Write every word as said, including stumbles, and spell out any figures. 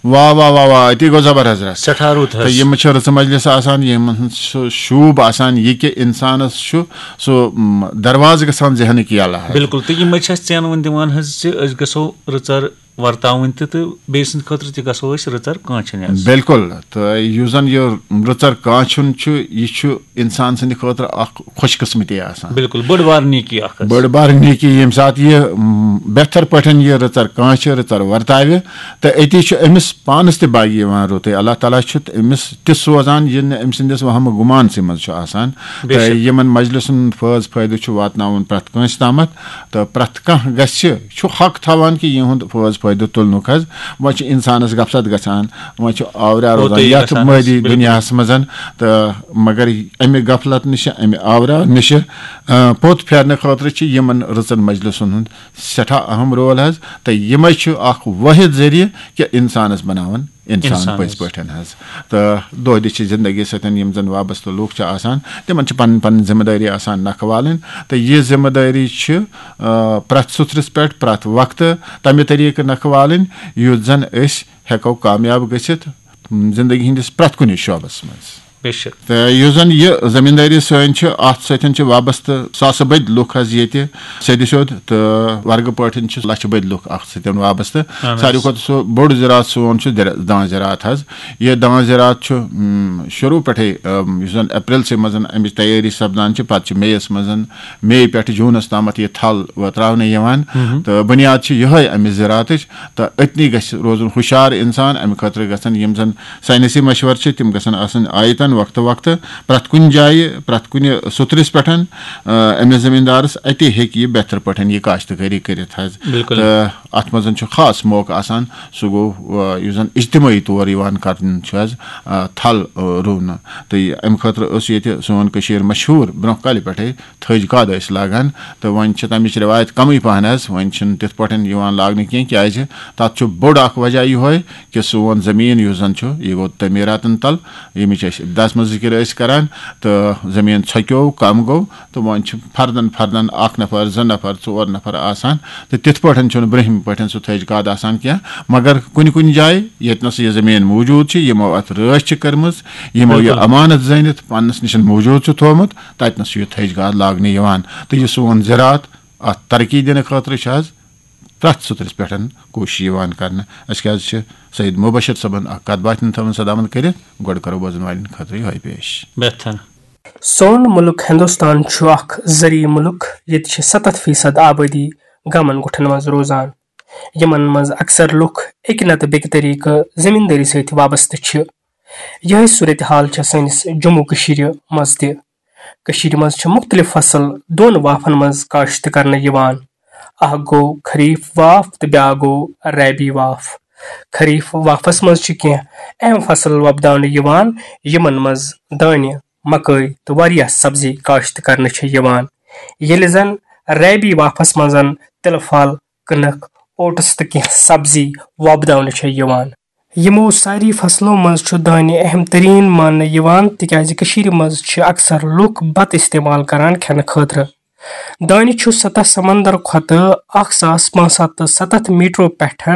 واہ واہ واہ واہ، أتی گوٚو زبر حضرت۔ سٮ۪ٹھاہ رُت حظ۔ تہٕ یِم چھِ رٕژٕ مجلس آسان، یِمن ہُنٛد سُہ شوٗب آسان یہِ کہِ انسانس چھُ سُہ م، دروازٕ گژھان ذہنٕکۍ یلہٕ حظ۔ بِلکُل، تہٕ یِمے چھِ اَسہِ ژینوٕنۍ دِوان حظ زِ أسۍ گژھو رٕژر ورتاوٕنۍ تہِ، تہٕ بیٚیہِ سٕنٛدِ خٲطرٕ تہِ گژھو أسۍ رٕژر کانٛچھِنۍ حظ۔ بِلکُل، تہٕ یُس زن یہِ رٕژر کانٛچھُن چھُ، یہِ چھُ انسان سٕنٛدِ خٲطرٕ اکھ خۄش قٕسمتی آسان۔ بِلکُل، بٔڑ بار نیکی اکھ حظ۔ بٔڑ بار نیکی، ییٚمہِ ساتہٕ یہِ م، بہتر پٲٹھۍ یہِ رٕژر کانٛچھِ، رٕژر ورتاوِ، تہٕ أتی چھُ أمِس پانس تہِ باگہِ یِوان رُتُے۔ اللہ تعالیٰ چھُ أمِس تہِ سوزان، یہِ نہٕ أمۍ سٕنٛدِس وہمہٕ گُمانسٕے منٛز چھُ آسان۔ بے تہٕ شک۔ یِمن مجلسن ہُنٛد فٲض فٲیدٕ چھُ واتناوُن پرٛٮ۪تھ کٲنٛسہِ تامتھ، تہٕ پرٛٮ۪تھ کانٛہہ گژھِ چھُ حق تھاوان کہِ یِہُنٛد فٲض فٲیدٕ تُلنُک حظ۔ وۄنۍ چھُ انسانس غفلت گژھان، وۄنۍ چھُ آوریا روزان ہوتُے یتھ گژھان حظ، مٲدی بِلکُل۔ دُنیاہس منٛز، تہٕ مگر امہِ غفلت نِش، امہِ آوریا نِش، آ، پوٚت پھیرنہٕ خٲطرٕ چھِ یِمن رٕژن مجلسن ہُنٛد سٮ۪ٹھاہ اہم رول حظ۔ تہٕ یِمے چھِ اکھ وٲحد ذٔریعہٕ کہِ انسانس بناوان انسان انسان پٔزۍ حظ۔ پٲٹھۍ حظ۔ تہٕ دۄہ دِش چہِ زندگی سۭتۍ یِم زن وابستہٕ لوٗکھ چھِ آسان، تِمن چھِ پنٕنۍ پنٕنۍ ذمہٕ دٲری آسان نکھٕ والٕنۍ۔ تہٕ یہِ ذمہٕ دٲری چھِ، آ، پرٛٮ۪تھ سُترِس پٮ۪ٹھ پرٛٮ۪تھ وقتہٕ تمہِ طریقہٕ نکھٕ والٕنۍ، یُتھ زن أسۍ ہٮ۪کو کامیاب گٔژھِتھ زندگی ہٕنٛدِس پرٛٮ۪تھ کُنہِ شعبس منٛز۔ بے شک۔ تہٕ یُس زن یہِ زٔمیٖندٲری سٲنۍ چھِ، اتھ سۭتۍ چھِ وابستہٕ ساسہٕ بٔدۍ لُکھ حظ ییٚتہِ سیٚدِ سیوٚد، تہٕ ورگہٕ پٲٹھۍ چھِ لچھِ بٔدۍ لُکھ اتھ سۭتۍ وابستہٕ۔ اہن حظ۔ ساروی کھۄتہٕ سُہ بوٚڑ زِراعت سون چھُ زِرا-، دان زِراعت حظ۔ یہِ دان زِراعت چھُ، م، شروٗع پٮ۪ٹھے، م، یُس زن اپریلسٕے منٛز امِچ تیٲری سپدان چھِ، پتہٕ چھِ مے یس منٛز، مے پٮ۪ٹھ جوٗنس تامتھ یہِ تھل وتراونہٕ یِوان۔ تہٕ بُنیاد چھِ یِہے امہِ زِراعتٕچ۔ تہٕ أتنی گژھِ روزُن ہُشار انسان۔ امہِ خٲطرٕ گژھن یِم زن ساینسی مشورٕ چھِ، تِم گژھن آسٕنۍ آیتن وقتہٕ وقتہٕ پرٛٮ۪تھ کُنہِ جایہِ، پرٛٮ۪تھ کُنہِ سُترِس پٮ۪ٹھ، آ، أمِس زٔمیٖندارس، اتی ہیٚکہِ یہِ بہتر پٲٹھۍ یہِ کاشتکٲری کٔرِتھ حظ۔ بِلکُل۔ تہٕ اتھ منٛز چھُ خاص موقعہٕ آسان، سُہ گوٚو، آ، یُس زن اجتمٲعی طور یِوان کرنہٕ چھُ حظ، آ، تھل، آ، رُونہٕ۔ تہٕ یہِ، امہِ خٲطرٕ ٲس ییٚتہِ سون کٔشیٖر مشہوٗر برٛونٛہہ کالہِ پٮ۪ٹھے تھٔج کاد ٲسۍ لاگان، تہٕ وۄنۍ چھِ تَمِچ رِوایت کَمٕے پَہَن حظ، وۄنۍ چھِنہٕ تِتھ پٲٹھۍ یِوان لاگنہٕ کینٛہہ، کیٛازِ تَتھ چھُ بوٚڑ اَکھ وجہ یِہوٚے کہِ سون زٔمیٖن یُس زَن چھُ، یہِ گوٚو تعمیٖراتَن تَل، ییٚمِچ أسۍ ابتداہَس منٛز ذِکِر ٲسۍ کَران، تہٕ زٔمیٖن ژھۄکیو، کَم گوٚو، تہٕ وۄنۍ چھِ فردَن فردَن اَکھ نفر، زٕ نفر، ژور نفر آسان، تہٕ تِتھ پٲٹھۍ چھُنہٕ برٛونٛہمہِ پٲٹھۍ سُہ تھٔج کاد آسان کینٛہہ، مگر کُنہِ کُنہِ جایہِ ییٚتہِ نَس یہِ زٔمیٖن موٗجوٗد چھِ، یِمو اَتھ رٲچھ چھِ کٔرمٕژ، یِمو یہِ بِلکُل۔ اَمانَتھ زٲنِتھ پنٛنِس نِش موٗجوٗد چھُ تھوٚومُت، تَتہِ نَس چھُ یہِ تھٔج گاد لاگنہٕ یِوان۔ تہٕ یہِ سون زِراعت اَتھ ترقی دِنہٕ خٲطرٕ چھِ حظ پرٛٮ۪تھ سُترِس پٮ۪ٹھ کوٗشِش یِوان کرنہٕ۔ اَسہِ کیٛازِ چھِ سید مبشر صٲبن اَکھ کَتھ باتھ تھٲومٕژ سدامت کٔرِتھ، گۄڈٕ کرو بوزن والٮ۪ن خٲطرٕ یِہوٚے پیش۔ بہتر۔ سون مُلک ہندوستان چھُ اکھ زرعی مُلک، ییٚتہِ چھِ ستتھ فیصد آبٲدی گامن گوٹھن منٛز روزان، یِمن منٛز اکثر لُکھ اَکہِ نتہٕ بیٚکہِ طریقہٕ زٔمیٖندٲری سۭتۍ وابستہٕ چھِ۔ یِہے صورتحال چھےٚ سٲنِس جموں کٔشیٖرِ منٛز تہِ۔ کٔشیٖرِ منٛز چھِ مُختٔلِف فصل دۄن وافن منٛز کاشت کرنہٕ یِوان۔ اکھ گوٚو خریف واف تہٕ بیاکھ گوٚو ربیع واف۔ خریف وافس منٛز چھِ کینٛہہ اہم فصل وۄپداونہٕ یِوان، یِمن منٛز دانہِ، مکٲے تہٕ واریاہ سبزی کاشت کرنہٕ چھِ یِوان، ییٚلہِ زن ربیع وافس منٛز تِلہٕ پھل، کٕنٕک، اوٹس تہٕ کینٛہہ سبزی وۄپداونہٕ چھِ یِوان۔ یِمو ساری فصلو منٛز چھُ دانہِ اہم ترین ماننہٕ یِوان، تِکیازِ کٔشیٖرِ منٛز چھِ اکثر لُکھ بتہٕ استعمال کران کھٮ۪نہٕ خٲطرٕ۔ دانہِ چھُ سطح سمندر کھۄتہٕ اکھ ساس پانٛژھ ہتھ تہٕ ستتھ میٹرو پٮ۪ٹھ